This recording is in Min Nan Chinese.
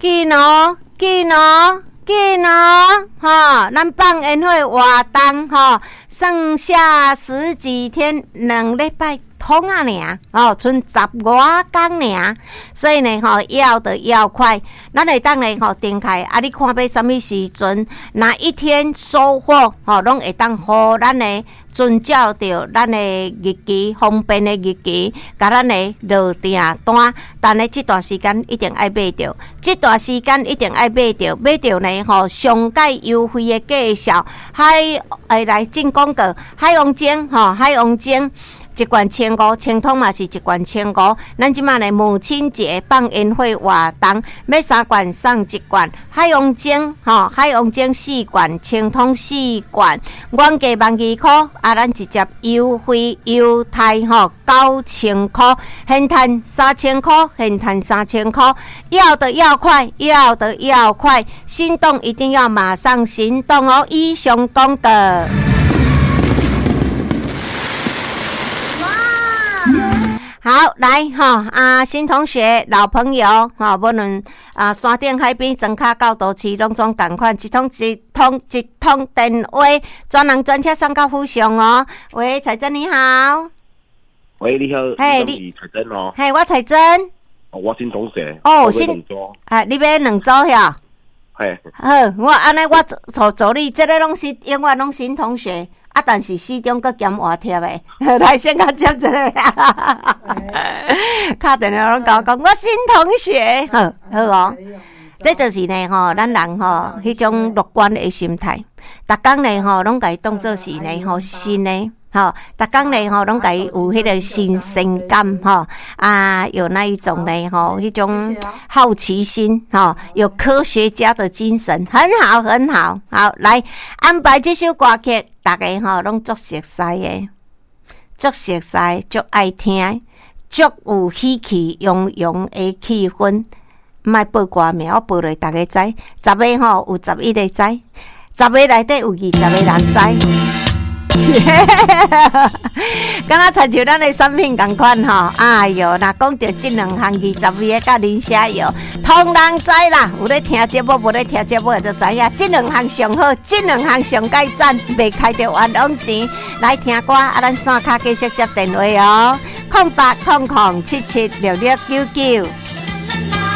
緊哦，緊哦，緊哦，吼！咱放煙火活動吼，剩下十幾天，2禮拜通啊爾，吼，賰十外工爾，所以呢，吼，要的要快，咱會當呢，吼，訂開啊！你看欲啥物時陣，哪一天收貨，吼，攏會當予咱的遵照著咱的日期，方便的日期，共咱的落訂單。但呢，這段時間一定愛買著，這段時間一定愛買著，買著呢，吼，上蓋優惠的價數，海會來進廣告，海王精，吼，海王精。一罐千五，清湯嘛是一罐千五。咱這馬呢母親節放煙火活動，買三罐送一罐。海王精吼，海王精四罐，清湯四罐，原價12,000箍，啊，咱直接優惠優待吼9000箍，現趁三千箍，現趁三千箍。要的要快，要的要快，心動一定要馬上行動哦！以上廣告。好，來吼啊，新同學、老朋友吼，無論啊山頂海邊、莊跤到都市，攏總仝款，一通一通一通電話，專人專車送到府上哦。喂，彩珍你好。喂，你好。嘿，你是彩珍哦。嘿，我彩珍。哦，我新同學。哦，新。啊，你買兩組遐？嘿。好，我按呢，我做助理，這个攏是永遠攏新同學。啊！但是始終閣兼活貼的，來先共接一个，敲電話攏共我講，我新同學，好好哦。這就是呢吼，咱人吼，彼種樂觀的心態，逐工呢吼，攏共伊當做是呢吼新的。吼，逐工呢吼，攏共伊有彼个新鮮感吼，啊，有那一種呢吼，彼種好奇心吼，有科學家的精神，很好，很好。好，來安排這首歌曲，逐家吼攏足熟似的，足熟似，足愛聽，足有喜氣洋洋的氣氛。毋愛報歌名，我報落逐家知，十个吼有11個知，十个內底有20個人知。敢若親像咱的產品仝款吼，哎喲，若講著這兩項20味的佮磷蝦油，通人知啦。有咧聽節目，無咧聽節目就知影，這兩項上好，這兩項上蓋讚，袂開著冤枉錢。來聽歌，啊，咱線跤繼續接電話哦，0800776699。